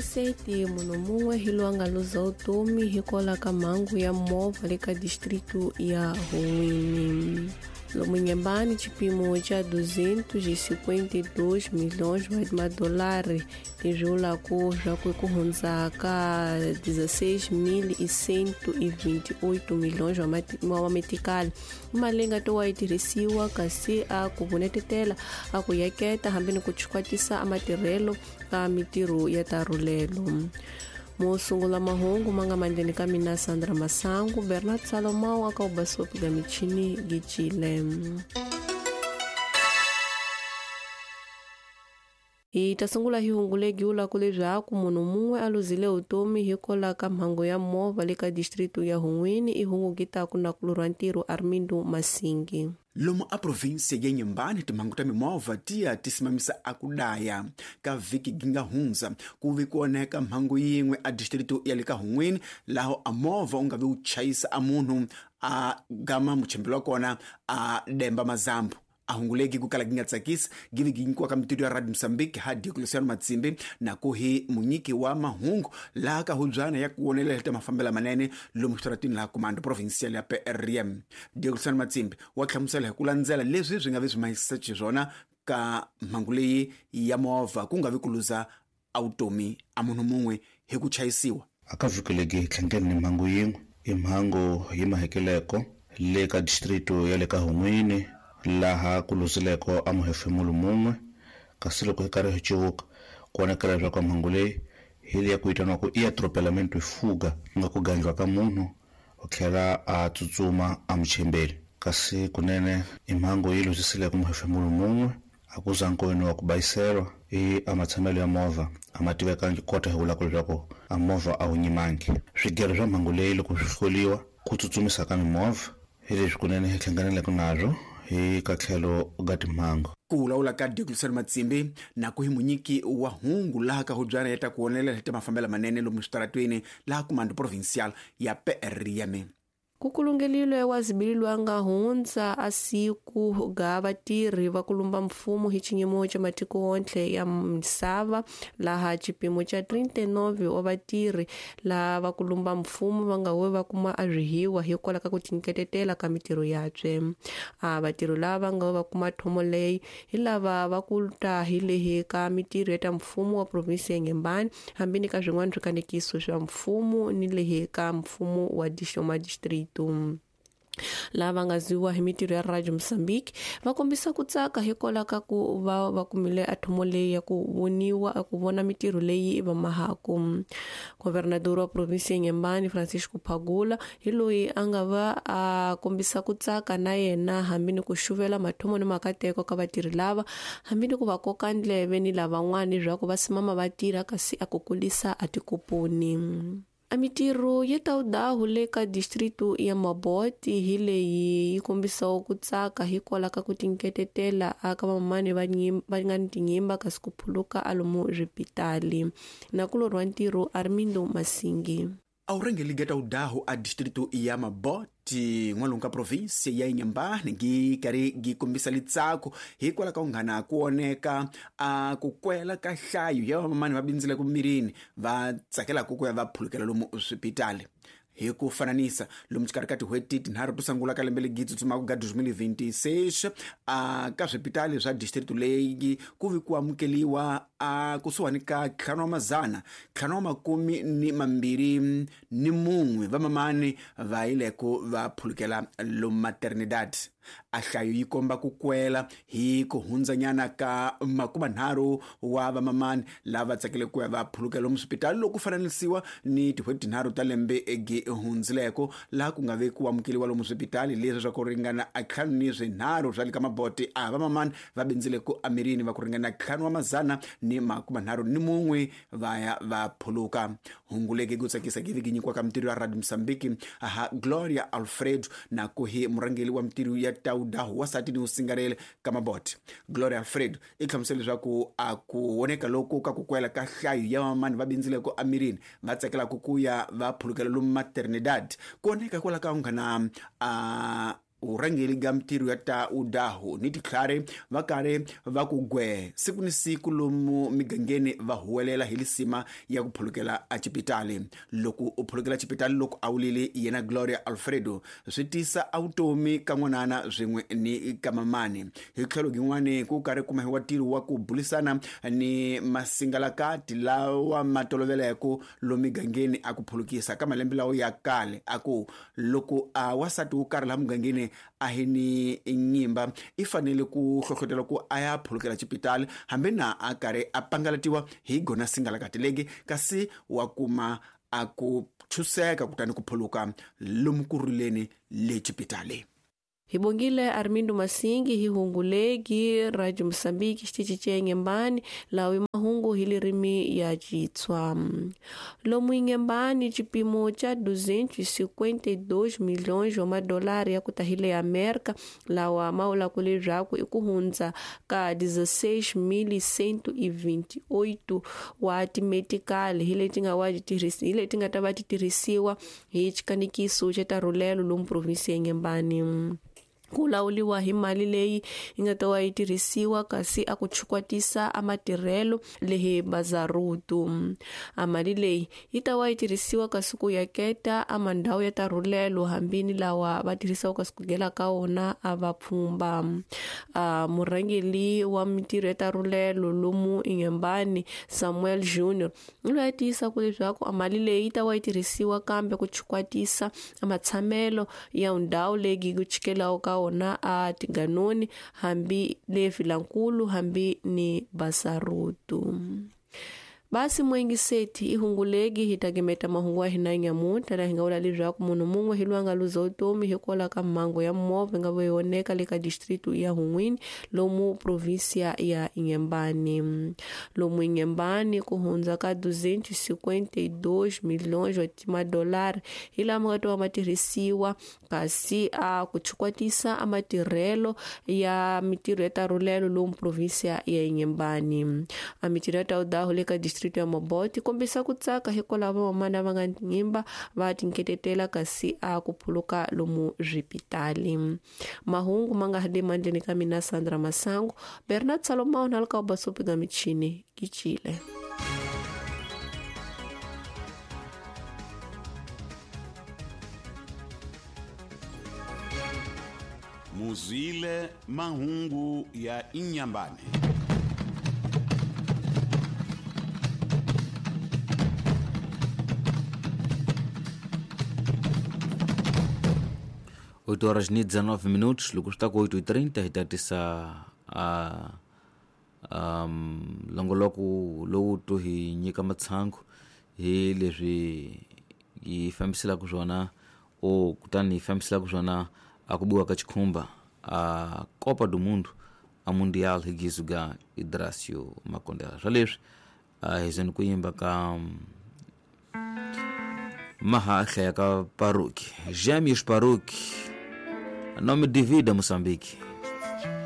27 munhu mun'we hi loyi a nga luza vutomi hikwalaho ka mhangu ya movha le ka distritu ya Hun'wini. Lomu Inhambane xipimo xa 252 milhões wa madolari leswi vulaka swa ku ku hundza ka 16.128 milhões wa metikali i mali leyi nga to wa yi tirhisiwa kasi a ku vunetetela a ku yaketa hambi ni ku chikwatisa a matirhelo ka mitirho ya tarhulelo. Mo sungula mahungu ma nga mandleni ka mina Sandra Masangu, Bernard Salomão aka ubasopi ga michini gicile. Hi ta sungula hi hungu legi vulaka leswaku munhu mun'we a luzile vutomi hikwalaho ka mhangu ya movha le ka distritu ya Hun'wini. I hungu gitaku na kulurha ntirho Armindo Masingi. Lomu a provinsia ya Inhambane timhangu ta mimovha ti ya ti simamisa a ku daya. Ka vhiki gi nga hundza ku vi ku onheka mhangu yin'we a distritu ya le ka Hun'wini, laho a movha u nga vi wu chayisa a munhu a gama muchembeli wa kona a demba mazambu. A hunguleki ku kala gi nga tsakisi gi vi gi nyikiwa ka mitido ya Radio Mozambique ha Diocleciano Matsimbi na ku hi munyiki wa mahungu laha ka hubyana ya ku vonelela ta mafambelo manene lomu xitaratini laha Comando Provincial ya PRM. Diocleciano Matsimbi wa hlamusela hi ku landzela leswi swi nga vi swi mahisa xiswona ka mhangu leyi ya movha ku nga vi ku luza a vutomi a munhu mun'we hi ku chayisiwa. A ka vhiki legi hi tlhangene ni mhangu yin'we, i mhangu yi mahekeleko le ka distritu ya le ka Hun'wini laha ku luzileko a muhefemulo mun'we, kasi loko hi karhi hi civuka ku vonakala leswaku mhangu leyi hi leya ku vitaniwaku i atropelamento fuga, ku nga ku gandliwa ka munhu u tlhela a tsutsuma a muchembeli. Kasi kunene i mhangu yi luzisileko muhefemulo mun'we, a ku za nkoyini wa ku bayiselwa i a matshamelo ya movha a ma tivekangi kota hi vulaka leswaku a movha a wu nyimangi. Swigelo swa mhangu leyi loko swi hloliwa ku tsutsumisa ka mimovha hi leswi kunene hi hlanganeleke nazwo hi ka tlhelo ga timhangu. Ku vulavula ka Diocleciano Matsimbi na ku hi munyiki wa hungu laha ka hubyana ya ta ku vonelela hi ta mafambelo manene lomu switaratweni laha Comando Provincial ya PRM. Ku kulungelile wa zibili lwa nga hundza a siku ga vatirhi va ku lumba mfumo hi xinyimo xa matiko wontle ya misava laha xipimo xa 39 wa vatirhi laha va ku lumba mfumo va nga we va kuma a swihiwa hikwalaho ka ku tinyiketetela ka mitirho yabye. A vatirhi lava va nga we va kuma thomo leyi hi lava va ku ta hi lehi ka mitirho ya ta mfumo wa provinsi ya Inhambane hambi ni ka swin'wana swikanekiso swa mfumo ni lehi ka mfumo wa distrito. Lava nga ziwa hi mitirho ya Radio Mozambique va kombisa ku tsaka hikwalaho ka ku va va kumile a thomo leyi ya ku voniwa ku vona mitirho leyi va mahaku. Governador wa provinsi ya Inhambane Francisco Phagula hi loyi a nga va a kombisa ku tsaka na yena hambi ni ku xuvela mathomo ni makateko ka vatirhi lava hambi ni ku va koka ndleve ni lavan'wana leswaku va simama va tirha kasi a ku kulisa a tikoponi. A mitirho ya tawudahu le ka distritu ya Mabote hi leyi yi kombisaho ku tsaka hikwalaho ka ku tinyiketetela aka vamamani va nga ni tinyimba kasi ku phuluka a lomu swipitali. Na ku lorhiwa ntirho Armindo Masingi. A wu rhangeli ga tawudahu a distritu ya Mabote n'walungu ka provinsi ya Inhambane gi karhi gi kombisa litsako hikwalaho ka ku nghana ku oneka a ku kwela ka nhlayo ya vamamani va bindzile ku mirini va tsakelaka ku ya va phulukela lomu swipitali. Hi ku fananisa lomu xikarhi ka tin'hweti tinharhu to sungula ka lembe legi tsutsumaka ga 2026 a ka swipitali swa district leyi ku vi ku amukeliwa a kusuhani ka 521 vamamani va yile ku va phulukela lomu maternidad. A nhlayo yi komba ku kwela hi ku hundzanyana ka 30 wa vamamani lava tsakele ku ya va phulukela lomu swipitali loko ku fananisiwa ni tin'hweti tinharhu ta lembe egi hundzileko laha ku nga ve ku amukeliwa lomu swipitali leswi swa ku ringana a 53 swa le ka Mabote a vamamani va bindzile ku amirini va ku ringana 531 va ya va phuluka. Hungu legi ku tsakisa gi vi gi nyikiwa ka mitirho ya Radio Mozambique aha Gloria Alfredo na ku hi murhangeri wa mitirho ya tawudahu wasati ni usingarele ka Mabote. Gloria Alfredo i hlamusela leswaku a ku voneka loko ka ku kwela ka nhlayo ya vamamani va bindzileko amirini va tsakelaka ku ya va phulukela lomu maternidad ku oneka hikwalaho ka ku nghana a Urangeli ga mitirho ya ta udahu ni titlhari va karhi va ku gwe siku ni siku lomu migangeni va huwelela hi lisima ya ku phulukela a cipitali. Loko u phulukela cipitali loko a wulile yena Gloria Alfredo swi tisa a vutomi ka n'wanana swin'we ni ka mamani. Hi tlhelo gin'wani ku karhi kumahiwa ntirho wa ku bulisana ni masingalakati lawa ma toloveleko lomu migangeni a ku phulukisa ka malembe lawo ya kale a ku loko a wasati wo karhi laha mugangeni a hi ni nyimba i fanele ku hlohlotela ku a ya phulukela xipitali hambi na a karhi a pangalatiwa hi gona singalakati legi kasi wa kuma a ku chuseka kutani ku phuluka lomu ku rileni le xipitali. Hi bongile Armindo Masingi hi hungulegi Radio Mosambiki xitichi xa Inhambane lawa i mahungu hi lirimi ya Xitswa. Lomu Inhambane xipimo xa 252 milhões wa madolari ya ku ta hi le Amerika lawa ma vulaka leswaku i ku hundza ka 16,128 wa timetikali hi leti nga wa hi leti nga ta va ti tirhisiwa hi xikanikiso xa tarhulelo lomu provinsi ya Inhambane. Ku lawuliwa hi mali leyi yi nga ta va yi tirhisiwa kasi a ku chukwatisa a matirhelo lehi bazarutu. A mali leyi yi ta va yi tirhisiwa kasi ku yaketa a mandhawu ya tarhulelo hambi ni lawa va tirhisaka kasi ku gela ka wona a va pfhumba. A murhangeri wa mintirho ya tarhulelo lomu Inhambane Samuel Junior u loyi a tiyisaka leswaku a mali leyi yi ta va yi tirhisiwa kambe ku chukwatisa a matshamelo ya ndhawu leyi ku chikelaku ka wona a tiganoni hambi le Vilankulu hambi ni Basarutu. Basi mwengiseti i hungulegi hi ta gimeta mahungu ya hina nyamuntlha laha hi nga vula leswaku munhu mun'we hi loyi a nga luza vutomi hikwalaho ka mhangu ya movha yi nga va yi onheka le ka district ya Hun'wini lomu provinsia ya Inhambane. Lomu Inhambane ku hundza ka 252 milhões wa timadolari hi lama nga ta va ma tirhisiwa kasi a ku chukwatisa a matirhelo ya mitirho ya tarhulelo lomu provinsia ya Inhambane. A mitirho ya taudahu le ka district ya Mabote kombisa ku tsaka hikwalaho vamamana va nga nyimba va tinketetela kasi a ku phuluka lomu swipitali. Mahungu ma nga ha le mandleni ka mina Sandra Masango, Bernard Salomão na ka basopi ga michini kichile. Muzwile mahungu ya Inhambane. Oito horas e 19 minutos, loko swi ta ku 8:30 hi tatisa a longoloko lowu to hi nyika matshangu hi leswi hi fambiselaka swona o kutani hi fambiselaka swona a ku biwa ka xikhumba a Copa do Mundo a Mundial hi gizuga Idracio Makondela. Swa leswi a hi zeni ku yimba ka mahahla ya ka Paruki, Gêmeos Paruki, nome de vida Moçambique.